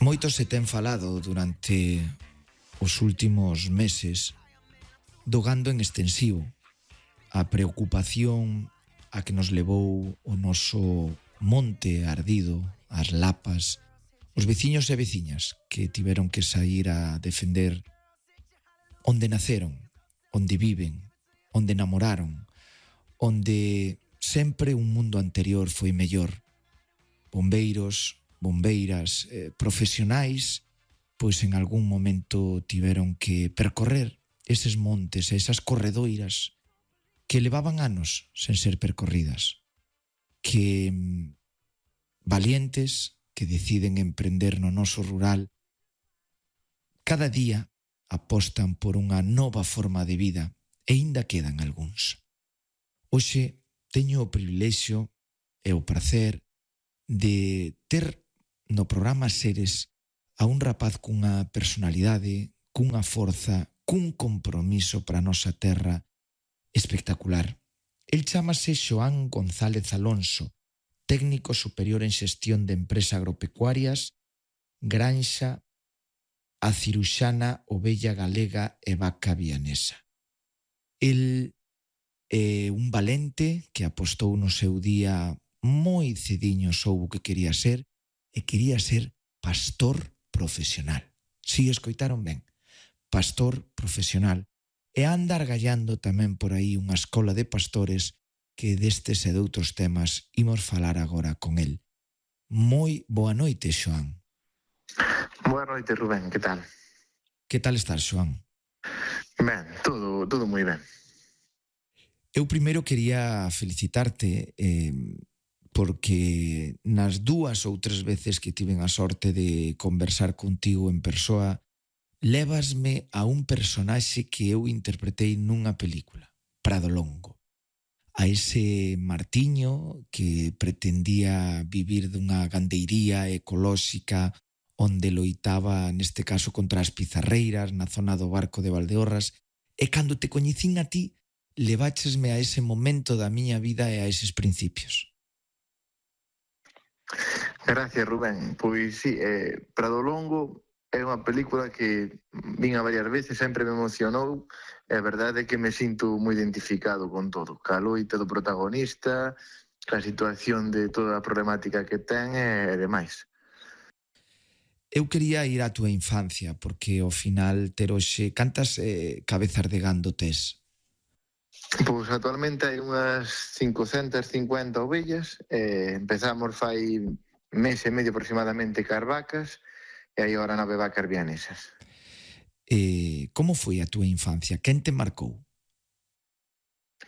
Moito se ten falado durante os últimos meses do gando en extensivo, a preocupación a que nos levou o noso monte ardido, as lapas, os veciños e veciñas que tiveron que sair a defender onde naceron, onde viven, onde namoraron, onde sempre un mundo anterior foi mellor. Bombeiros, bombeiras, profesionais, pois en algún momento tiveron que percorrer eses montes e esas corredoiras que levaban anos sen ser percorridas, que valientes que deciden emprender no noso rural cada día apostan por unha nova forma de vida e aínda quedan algúns. Hoxe teño o privilexio e o prazer de ter no programa Seres a un rapaz cunha personalidade, cunha forza, cun compromiso para a nosa terra espectacular. El chámase Xoán González Alonso, técnico superior en xestión de empresas agropecuarias, Granxa, a Ciruxana, Ovella Galega e Vaca Vianesa. El é un valente que apostou no seu día moi cediño, soubo que quería ser, e quería ser pastor profesional. Si escoitaron ben, pastor profesional. E anda argallando tamén por aí unha escola de pastores que destes e de outros temas imos falar agora con el. Moi boa noite, Xoán. Boa noite, Rubén, que tal? Que tal estás, Xoán? Ben, todo moi ben. Eu primeiro quería felicitarte porque nas dúas ou tres veces que tiven a sorte de conversar contigo en persoa, lévasme a un personaxe que eu interpretei nunha película, Prado Longo. A ese Martiño que pretendía vivir dunha gandeiría ecolóxica onde loitaba, neste caso, contra as pizarreiras na zona do Barco de Valdeorras, e cando te coñecín a ti, leváchesme a ese momento da miña vida e a eses principios. Gracias, Rubén. Pois sí, Prado Longo é unha película que vin a varias veces, sempre me emocionou, e a verdade é que me sinto moi identificado con todo. Ca loita do protagonista, a situación de toda a problemática que ten e demais. Eu quería ir á túa infancia, porque ao final ter hoxe cantas cabezas de gando tes? Pois actualmente hai unhas 550 ovellas, empezamos fai mes e medio aproximadamente cas vacas, e hai agora 9 vacas vianesas. Como foi a túa infancia? Quen te marcou?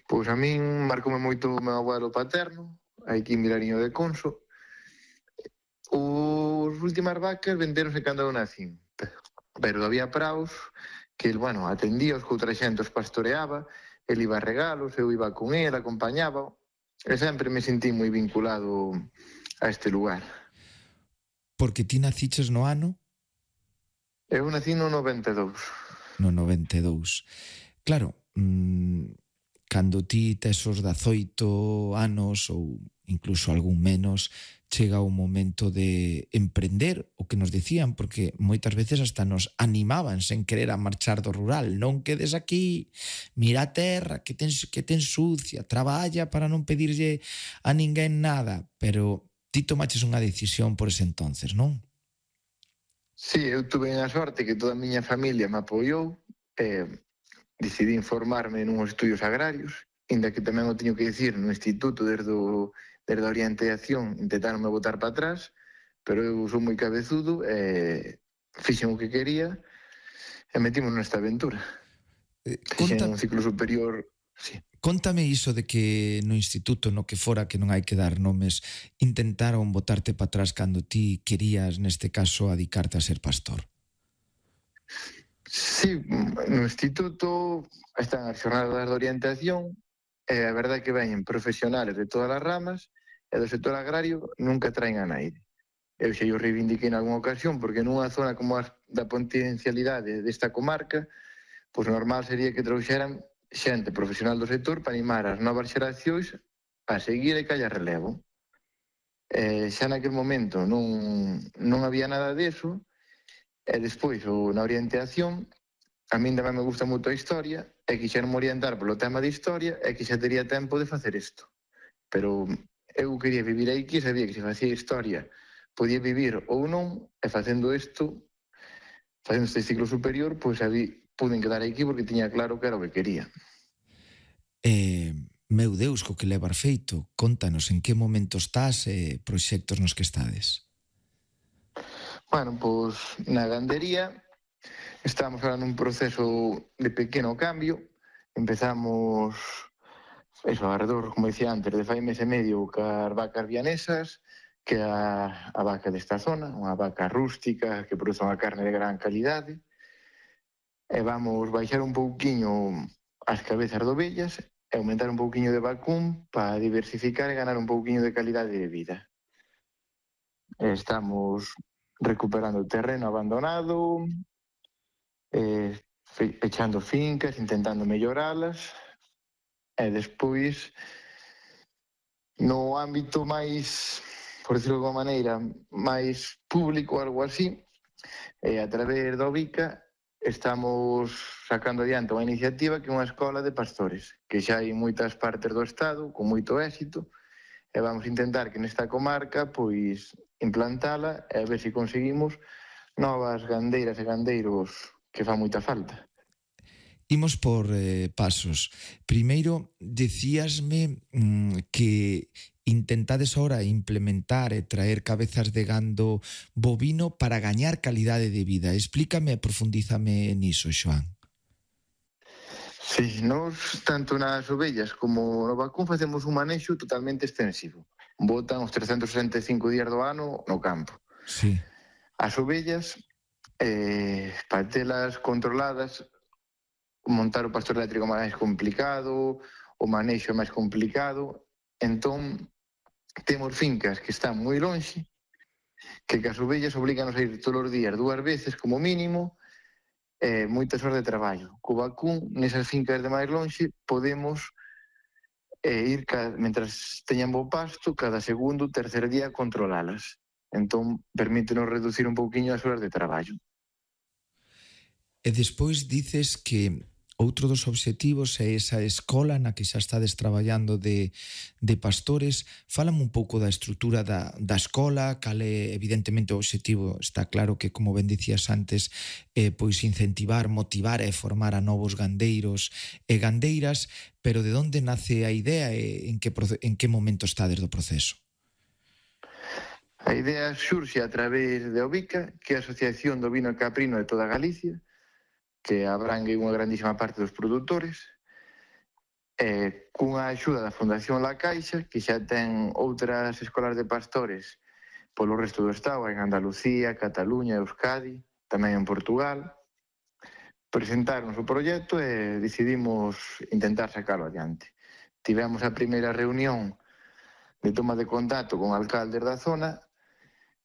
Pois a min marcoume moito o meu abuelo paterno, aquí en Vilariño de Conso. Os últimas vacas vendéronse cando eu nacín, pero había praos que, bueno, atendía os que outra xente os pastoreaba, el iba a regalos, eu iba con el, acompañaba, e sempre me sentí moi vinculado a este lugar. Porque ti naciches no ano? Eu nací no 92. No 92. Claro, cando ti tes os 18 anos ou incluso algún menos, chega o momento de emprender o que nos decían, porque moitas veces hasta nos animaban sen querer a marchar do rural. Non quedes aquí, mira a terra, que ten sucia, traballa para non pedirlle a ninguén nada. Pero ti tomaches unha decisión por ese entonces, non? Sí, eu tuve a sorte que toda a miña familia me apoiou, decidí informarme nuns estudios agrarios, inda que tamén o teño que dicir no instituto desde a orientación intentaronme botar para atrás, pero eu sou moi cabezudo e fixen o que quería e metimos nesta aventura. Fixen un ciclo superior. Sí. Cóntame iso de que no instituto, no que fora, que non hai que dar nomes, intentaron botarte para atrás cando ti querías, neste caso, adicarte a ser pastor. Sí, no instituto están as jornadas de orientación e a verdade é que veñen profesionales de todas as ramas e do sector agrario nunca traen a naide. Eu xa o reivindiquei en algunha ocasión porque nunha zona como a da potencialidade desta comarca, pois normal sería que trouxeran xente profesional do sector para animar as novas xeracións a seguir e que haya relevo. Xa naquele momento non había nada deso, e despois na orientación a min tamén me gusta moito a historia e quixeron orientar polo tema de historia e que xa tería tempo de facer isto. Pero eu quería vivir aquí, sabía que se facía historia podía vivir ou non, e facendo este ciclo superior, pois pude quedar aquí porque tiña claro que era o que quería. Meu Deus, co que levar feito, contanos en que momento estás e proxectos nos que estades. Bueno, pois na gandería estamos ahora nun proceso de pequeno cambio. Empezamos alrededor, como dicía antes, de fai mes e medio cas vacas vianesas, que é a vaca desta zona, unha vaca rústica que produce unha carne de gran calidade. E vamos baixar un pouquiño as cabezas de ovellas e aumentar un pouquiño de vacún para diversificar e ganar un pouquiño de calidade de vida. Estamos recuperando o terreno abandonado, pechando fincas, intentando melloralas, e despois no ámbito máis, por decirlo de alguma maneira, máis público, algo así, a través da Ovica estamos sacando adiante unha iniciativa que é unha escola de pastores, que xa hai en moitas partes do estado, con moito éxito, e vamos intentar que nesta comarca pois implantala e a ver se conseguimos novas gandeiras e gandeiros que fan moita falta. Imos por pasos. Primeiro, decíasme que intentades ahora implementar e traer cabezas de gando bovino para gañar calidade de vida. Explícame e profundízame niso, Xoán. Sí, nós, tanto nas ovellas como no vacún, facemos un manexo totalmente extensivo. Botan os 365 días do ano no campo. Sí. As ovellas, para telas controladas, montar o pastor eléctrico máis complicado, o manexo é máis complicado, entón temos fincas que están moi lonxe, que as ovellas obliganos a ir todos os días 2 veces como mínimo, moitas horas de traballo. Co vacún, nesas fincas de máis lonxe, podemos ir, mentras teñan bo pasto, cada segundo, tercer día controlalas. Entón, permítenos reducir un pouquiño as horas de traballo. E despois dices que outro dos obxectivos é esa escola na que xa estades traballando de pastores. Fálame un pouco da estrutura da escola, cal é evidentemente o obxectivo. Está claro que, como ben dicías antes, pois incentivar, motivar e formar a novos gandeiros e gandeiras, pero de onde nace a idea e en que momento estades do proceso? A idea xurxe a través de Ovica, que é a Asociación do Vino e Caprino de toda Galicia, que abrangue unha grandísima parte dos produtores, cunha axuda da Fundación La Caixa, que xa ten outras escolas de pastores polo resto do estado, en Andalucía, Cataluña, Euskadi, tamén en Portugal. Presentarnos o proxecto e decidimos intentar sacalo adiante. Tivemos a primeira reunión de toma de contacto con alcaldes da zona.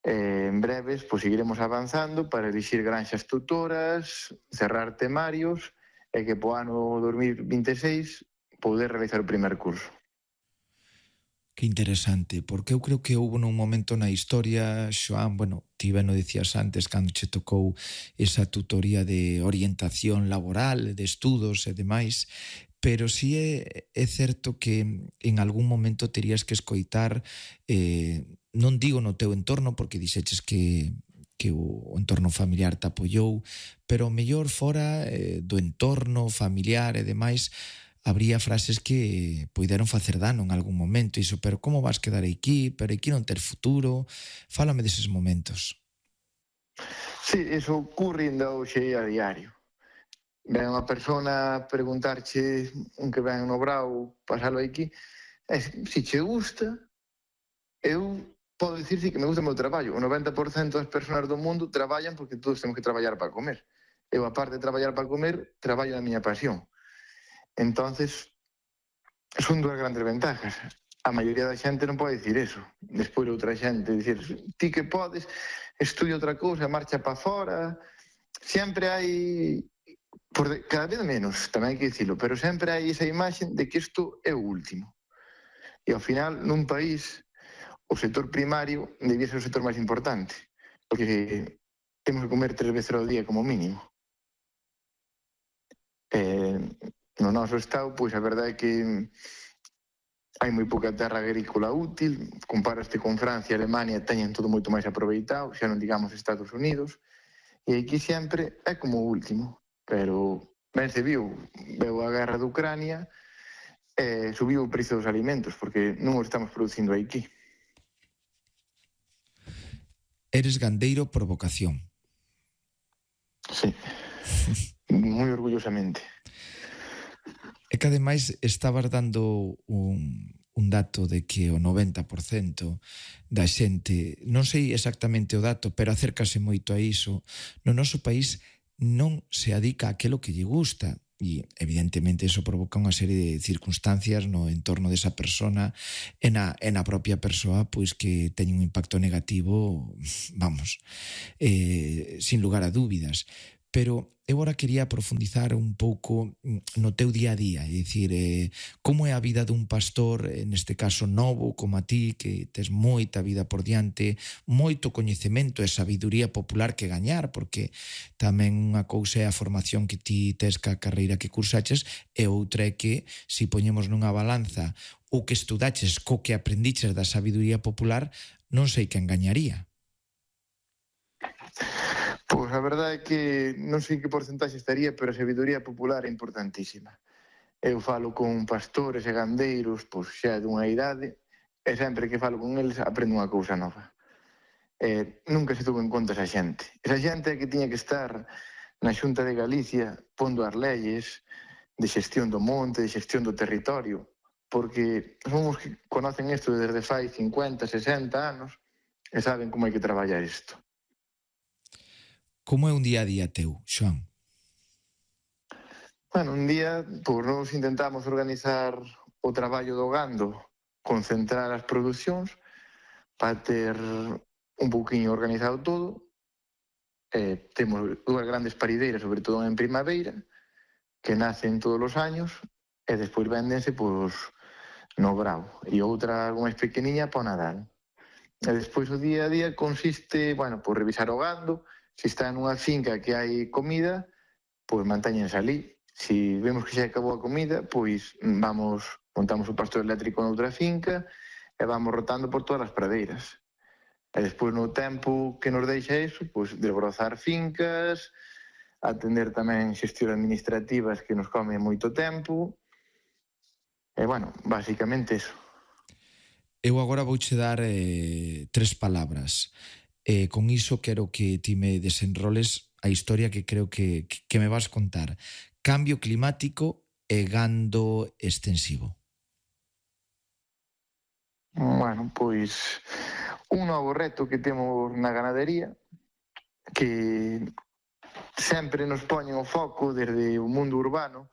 En breves, pois seguiremos avanzando para elixir granxas tutoras, cerrar temarios e que po ano 2026 poder realizar o primer curso. Que interesante, porque eu creo que houve nun momento na historia, Xoán, bueno, ti ben o dicías antes, cando che tocou esa tutoría de orientación laboral, de estudos e demais, pero sí é certo que en algún momento terías que escoitar, non digo no teu entorno, porque dixeches que o entorno familiar te apoiou, pero mellor fora do entorno familiar e demais, habría frases que puideron facer dano en algún momento, iso, pero como vas quedar aquí, pero aquí non ter futuro, fálame deses momentos. Sí, eso ocurre ainda hoxe a diario. Ven unha persona a preguntarche un que ven no brao, pasalo aquí, e se che gusta, eu podo dicir que me gusta o meu traballo. O 90% das persoas do mundo traballan porque todos temos que traballar para comer. Eu, aparte de traballar para comer, traballo na miña pasión. Entonces, son dúas grandes ventajas. A maioría da xente non pode dicir eso. Despois outra xente dicir, ti que podes, estudia outra cousa, marcha para fora. Sempre hai, cada vez menos, tamén hai que dicilo, pero sempre hai esa imaxe de que isto é o último. E ao final, nun país o sector primario debía ser o sector máis importante, porque temos que comer 3 veces ao día como mínimo. No noso estado, pois a verdade é que hai moi pouca terra agrícola útil, comparaste con Francia e Alemania, teñen todo moito máis aproveitado, xa non digamos Estados Unidos, e aquí sempre é como o último, pero ben se veu a guerra de Ucrania, subiu o precio dos alimentos, porque non os estamos producindo aquí. Eres gandeiro por vocación. Sí, moi orgullosamente. É que ademais estabas dando un dato de que o 90% da xente, non sei exactamente o dato, pero acércase moito a iso, no noso país non se adica a aquilo que lle gusta. E evidentemente iso provoca unha serie de circunstancias no entorno desa persona e na propia persoa, pois que teñen un impacto negativo, vamos, sin lugar a dúbidas. Pero eu agora quería profundizar un pouco no teu día a día, é dicir, como é a vida dun pastor, neste caso novo, como a ti, que tes moita vida por diante, moito coñecemento e sabiduría popular que gañar, porque tamén unha cousa é a formación que ti tes ca carreira que cursaches, e outra é que, se poñemos nunha balanza o que estudaches co que aprendiches da sabiduría popular, non sei quen gañaría. Pois a verdade é que non sei que porcentaxe estaría, pero a sabiduría popular é importantísima. Eu falo con pastores e gandeiros, pois xa dunha idade, e sempre que falo con eles aprendo unha cousa nova. Nunca se tuvo en conta esa xente. Esa xente é que tiña que estar na Xunta de Galicia pondo as leyes de xestión do monte, de xestión do territorio, porque son os que conocen isto desde fai 50, 60 anos e saben como hai que traballar isto. Como é un día a día teu, Xoán? Bueno, un día, pois nos intentamos organizar o traballo do gando, concentrar as producións para ter un pouquinho organizado todo. Temos dúas grandes parideiras, sobre todo en primavera, que nacen todos os años e despois véndense pois no brao, e outra algo máis pequeniña para o Nadal. E despois o día a día consiste, bueno, pois revisar o gando. Se está nunha finca que hai comida, pois mantéñense ali. Se vemos que xa acabou a comida, pois montamos o pasto eléctrico noutra finca e vamos rotando por todas as pradeiras. E despois no tempo que nos deixa iso, pois desbrozar fincas, atender tamén xestións administrativas que nos come moito tempo. E bueno, basicamente iso. Eu agora vouche dar 3 palabras. Con iso quero que ti me desenroles a historia que creo que me vas contar. Cambio climático e gando extensivo. Bueno, pois un novo reto que temos na ganadería, que sempre nos poñen o foco desde o mundo urbano,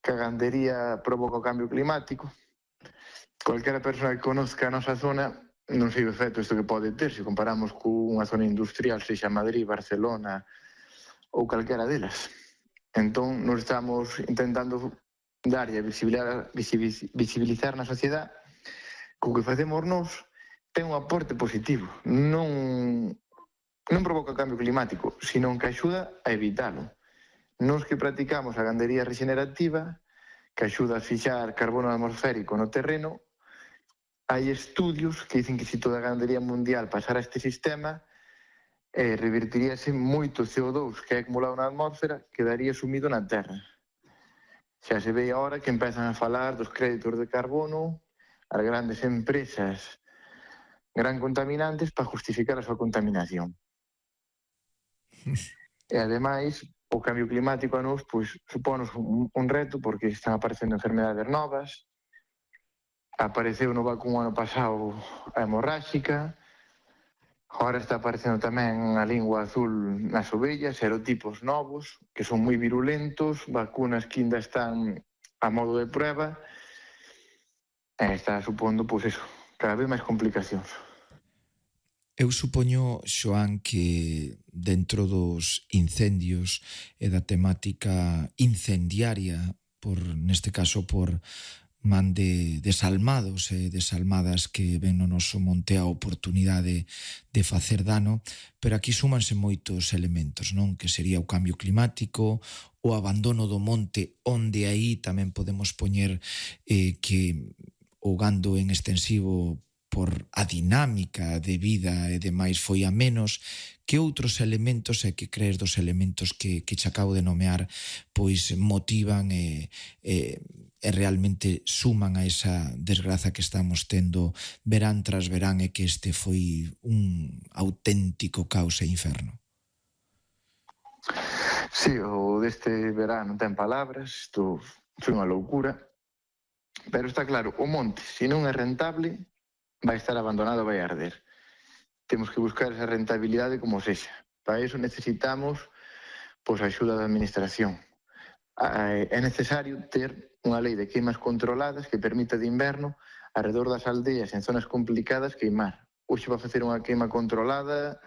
que a gandería provoca o cambio climático. Cualquera persoa que conozca a nosa zona non sei o efecto isto que pode ter se comparamos con unha zona industrial, sexa Madrid, Barcelona ou calquera delas. Entón, nos estamos intentando dar e visibilizar na sociedade que o que facemos nós ten un aporte positivo. Non provoca o cambio climático, sino que axuda a evitalo. Nos que practicamos a gandería regenerativa, que axuda a fixar carbono atmosférico no terreno, hai estudios que dicen que se toda a gandería mundial pasara a este sistema, revertiríase moito CO2 que é acumulado na atmósfera, quedaría sumido na terra. Xa se ve agora que empezan a falar dos créditos de carbono, as grandes empresas gran contaminantes para justificar a súa contaminación. E ademais, o cambio climático a nos supónos un reto porque están aparecendo enfermedades novas. Apareceu no vacuno ano pasado a hemorráxica, agora está aparecendo tamén a lingua azul nas ovellas, serotipos novos, que son moi virulentos, vacunas que ainda están a modo de prueba, e está supondo, pois eso, cada vez máis complicacións. Eu supoño, Xoán, que dentro dos incendios e da temática incendiaria, neste caso por man de desalmados e desalmadas que ven no noso monte a oportunidade de facer dano, pero aquí súmanse moitos elementos, non? Que sería o cambio climático, o abandono do monte, onde aí tamén podemos poñer que o gando en extensivo por a dinámica de vida e demais foi a menos. Que outros elementos e que crees dos elementos que che acabo de nomear pois motivan e realmente suman a esa desgraza que estamos tendo verán tras verán e que este foi un auténtico caos e inferno? Sí, o deste verano ten palabras, isto foi unha loucura, pero está claro, o monte, se non é rentable, vai estar abandonado, vai arder. Temos que buscar esa rentabilidade como sexa. Para iso necesitamos pois, a axuda da administración. É necesario ter unha lei de queimas controladas que permita de inverno, alrededor das aldeas en zonas complicadas, queimar. Hoxe va facer unha queima controlada,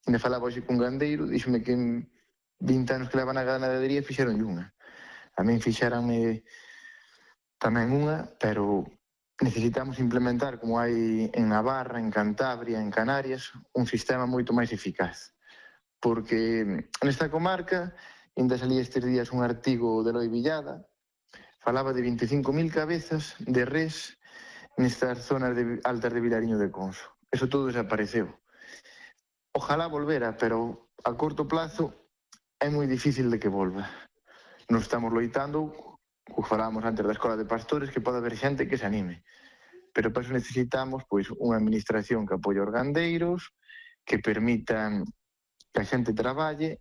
me falaba hoxe cun gandeiro, díxome que en 20 anos que leva na ganadería fixeron unha. A min fixeranme tamén unha, pero necesitamos implementar, como hai en Navarra, en Cantabria, en Canarias, un sistema moito máis eficaz. Porque nesta comarca, ainda salía estes días un artigo de Eloi Villada, falaba de 25.000 cabezas de res nestas zonas altas de Vilariño de Conso. Eso todo desapareceu. Ojalá volvera, pero a corto plazo é moi difícil de que volva. Non estamos loitando, como falábamos antes da Escola de Pastores, que pode haber xente que se anime. Pero para iso necesitamos pois, unha administración que apoie os gandeiros, que permitan que a xente traballe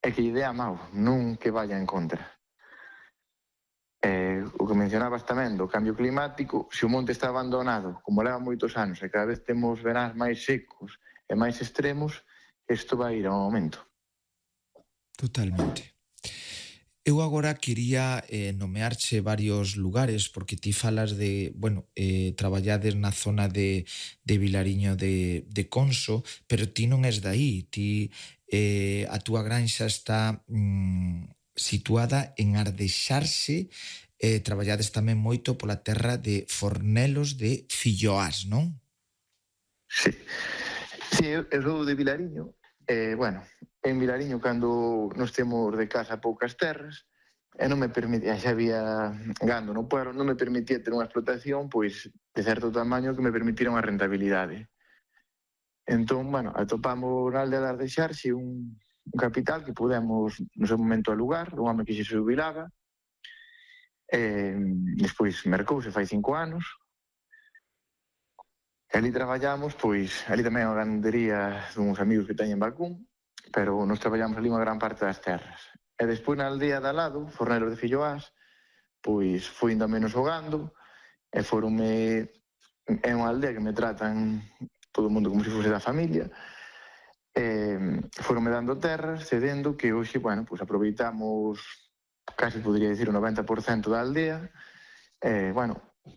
e que lle dé a mao, non que vaya en contra. O que mencionabas tamén do cambio climático, se o monte está abandonado, como leva moitos anos, e cada vez temos veráns máis secos e máis extremos, isto vai ir a un aumento. Totalmente. Eu agora quería nomearche varios lugares, porque ti falas de, traballades na zona de Vilariño de Conso, pero ti non és daí, ti a túa granxa está situada en Ardexarse, traballades tamén moito pola terra de Fornelos de Filloás, non? Sí, eu sou de Vilariño. En Vilariño, cando nos temos de casa poucas terras, e non me permitía, xa había gando no pueblo, non me permitía ter unha explotación pois de certo tamaño que me permitira unha rentabilidade. Entón, atopamos na aldea de Ardexarse un capital que pudemos no seu momento alugar, un home que se jubilaba, despois mercouse fai 5 anos, e ali traballamos, pois, ali tamén a gandería duns amigos que teñen vacún, pero nos traballamos ali unha gran parte das terras. E despois na aldea de al lado, Fornelos de Filloás, pois fui ainda menos o gando, e foronme... É unha aldea que me tratan todo o mundo como se fose da familia, foronme dando terras, cedendo, que hoxe, pois aproveitamos, casi podría dicir, o 90% da aldea,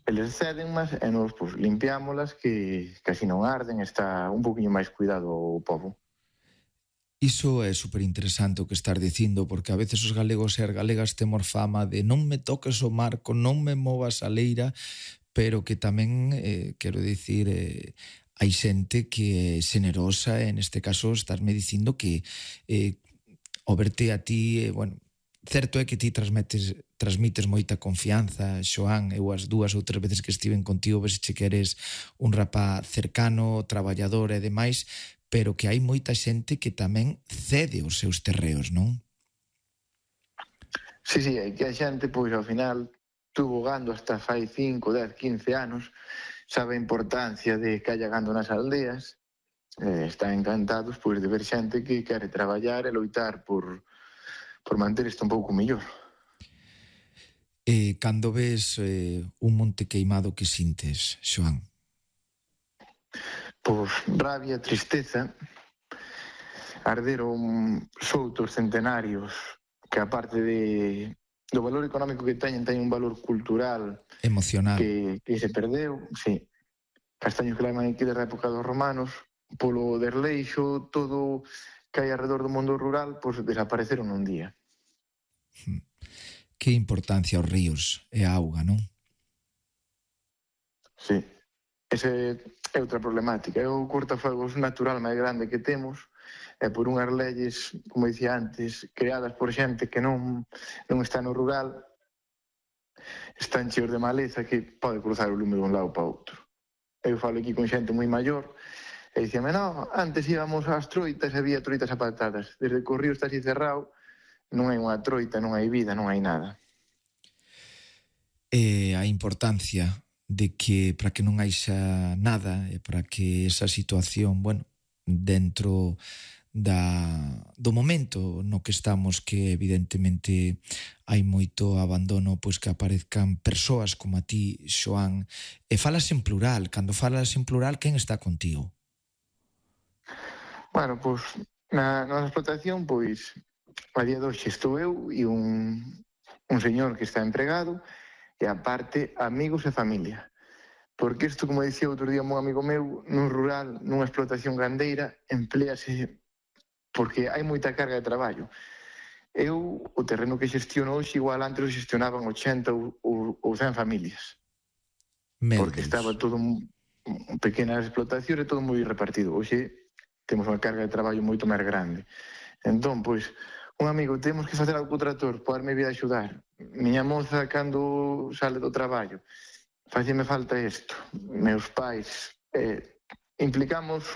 eles cédenmas e nos limpiámolas que así non arden, está un poquinho máis cuidado o povo. Iso é superinteresante o que estás dicindo, porque a veces os galegos e as galegas temos fama de non me toques o marco, non me movas a leira, pero que tamén, quero dicir, hai xente que é xenerosa, e neste caso estás me dicindo que ao verte a ti, certo é que ti transmites moita confianza, Xoán. Eu as 2 ou 3 veces que estiven contigo ves che que eres un rapaz cercano, traballador e demais, pero que hai moita xente que tamén cede os seus terreos, non? Sí, é que a xente, pois, ao final, tuvo gando hasta fai 5, 10, 15 anos, sabe a importancia de que haya gando nas aldeas, están encantados, pois, de ver xente que quere traballar e loitar por manter isto un pouco mellor. Cando ves un monte queimado, que sintes, Xoán? Pois rabia, tristeza, arderon soutos centenarios que aparte do valor económico que teñen un valor cultural emocional que se perdeu, sí. Castaños que levan aquí desde a época dos romanos, polo desleixo, todo que hai alrededor do mundo rural, pois desapareceron un día. Que importancia os ríos e a auga, non? sí. Esa é outra problemática. É o cortafuegos natural máis grande que temos, e por unhas leyes, como dicía antes, creadas por xente que non está no rural, están cheos de maleza que pode cruzar o lume dun lado para outro. Eu falo aquí con xente moi maior e dicíame, no, antes íbamos ás troitas e había troitas apartadas. Desde que o río está así cerrado, non hai unha troita, non hai vida, non hai nada. E a importancia de que para que non haixa nada e para que esa situación, bueno, dentro do momento no que estamos, que evidentemente hai moito abandono, pois que aparezcan persoas como a ti, Xoán. E falas en plural. Cando falas en plural, quen está contigo? Bueno, pois na nosa explotación, pois a día de hoxe estou eu e un señor que está empregado e aparte amigos e familia. Porque isto, como dicía outro día un amigo meu, nun rural, nunha explotación gandeira, emplease porque hai moita carga de traballo. Eu, o terreno que xestiono hoxe, igual antes o xestionaban 80 ou 100 familias. Meu Porque Deus. estaba todo pequenas explotacións e todo moi repartido. Hoxe temos unha carga de traballo moito máis grande. Entón, pois, un amigo, temos que facer algo co tractor, poderme vir a axudar. Miña moza, cando sale do traballo, faceme falta isto. Meus pais, implicamos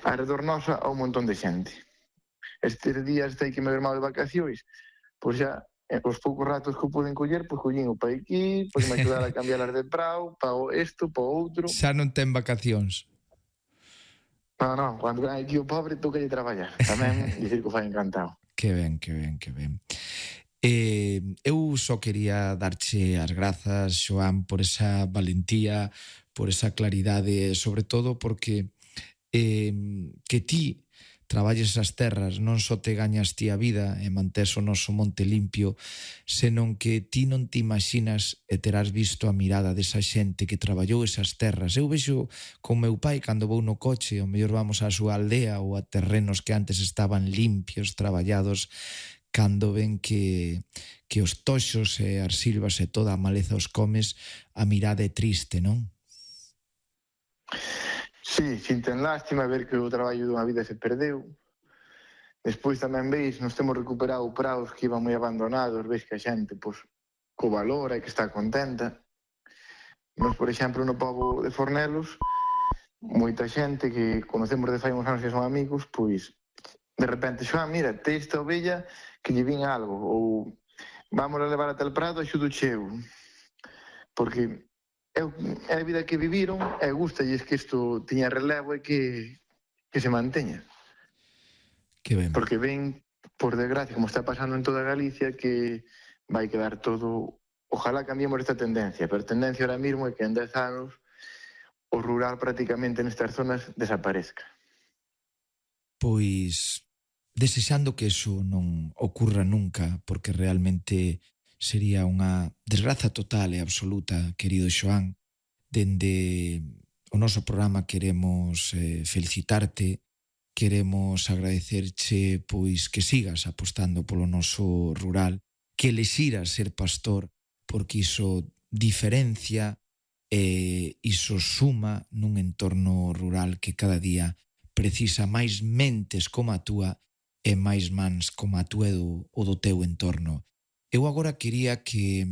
arredor nosa a un montón de xente. Estes días hai que me ver mal de vacacións, pois xa, os poucos ratos que o poden coller, pois collín o pa aquí, pois me axudar a cambiar as de prao, pa isto, pa outro. Xa non ten vacacións. Non, cando ven aquí o pobre, toca de traballar. Tamén dicir que o fai encantado. Que ben, que ben, que ben. Eu só quería darche as grazas, Xoán, por esa valentía, por esa claridade, sobre todo porque que ti traballes as terras, non só te gañas ti a vida e mantés o noso monte limpio, senón que ti non te imaginas e terás visto a mirada desa xente que traballou esas terras. Eu vexo con meu pai cando vou no coche, o mellor vamos á súa aldea ou a terrenos que antes estaban limpios, traballados, cando ven que os toxos e as silvas e toda a maleza os comes, a mirada é triste, non? Sí, sinten lástima ver que o traballo dunha vida se perdeu. Despois tamén veis, nos temos recuperado praos que iban moi abandonados, veis que a xente pois, co valora e que está contenta. Nos, por exemplo, no pobo de Fornelos, moita xente que conocemos de fai uns anos que son amigos, pois, de repente, Xoán, mira, te esta ovella que lle vin algo, ou vamos a levar ata el prado, axudo cheu. Porque é a vida que viviron e gustalles que isto tiña relevo e que se manteña. Que ben. Porque ven, por desgracia, como está pasando en toda Galicia, que vai quedar todo... Ojalá cambiemos esta tendencia, pero a tendencia ahora mismo é que en 10 anos o rural prácticamente nestas zonas desaparezca. Pois desexando que eso non ocurra nunca, porque realmente sería unha desgraza total e absoluta, querido Xoán. Dende o noso programa queremos felicitarte, queremos agradecerche pois que sigas apostando polo noso rural, que elixiras ser pastor, porque iso diferencia e iso suma nun entorno rural que cada día precisa máis mentes como a túa e máis mans como a túa o do teu entorno. Eu agora quería que,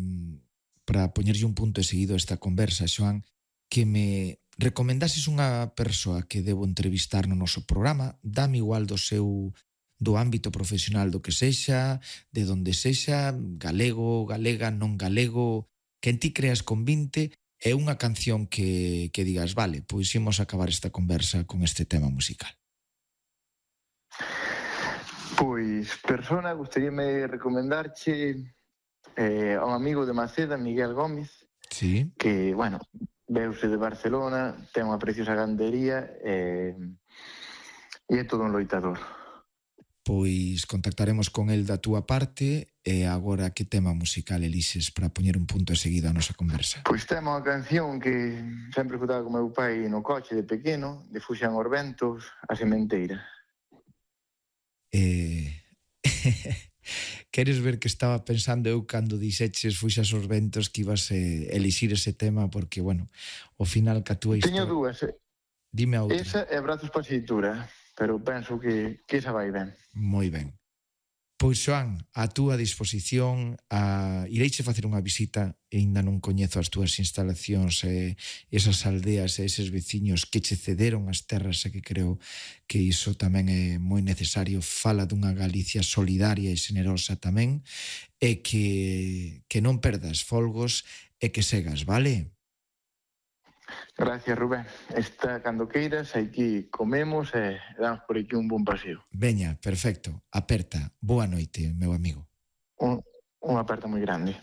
para poñerlle un punto e seguido a esta conversa, Xoán, que me recomendases unha persoa que debo entrevistar no noso programa, dame igual do ámbito profesional do que sexa, de donde sexa, galego, galega, non galego, que en ti creas convinte, e unha canción que digas, vale, pois imos acabar esta conversa con este tema musical. Pois, persona, gustaríame recomendarche a un amigo de Maceda, Miguel Gómez, sí, que, bueno, veuse de Barcelona, ten unha preciosa gandería e é todo un loitador. Pois contactaremos con el da túa parte e agora que tema musical elixes para poñer un punto e seguido a nosa conversa? Pois temos unha canción que sempre escutaba con meu pai no coche de pequeno, de Fuxan os ventos, a sementeira. Queres ver que estaba pensando eu cando dixeches Fuxas os ventos que ibas elixir ese tema porque, bueno, ao final ca túa Teño historia... dúas. Dime a outra. Esa é Brazos para a Xeitura, pero penso que esa vai ben. Moi ben. Pois, Xoán, a túa disposición, ireiche facer unha visita e ainda non coñezo as túas instalacións e esas aldeas e eses veciños que che cederon as terras e que creo que iso tamén é moi necesario. Fala dunha Galicia solidaria e generosa tamén e que non perdas folgos e que segas, vale? Gracias, Rubén. Está cando queiras, aquí comemos e damos por aquí un bon paseo. Veña, perfecto. Aperta. Boa noite, meu amigo. Un aperto moi grande.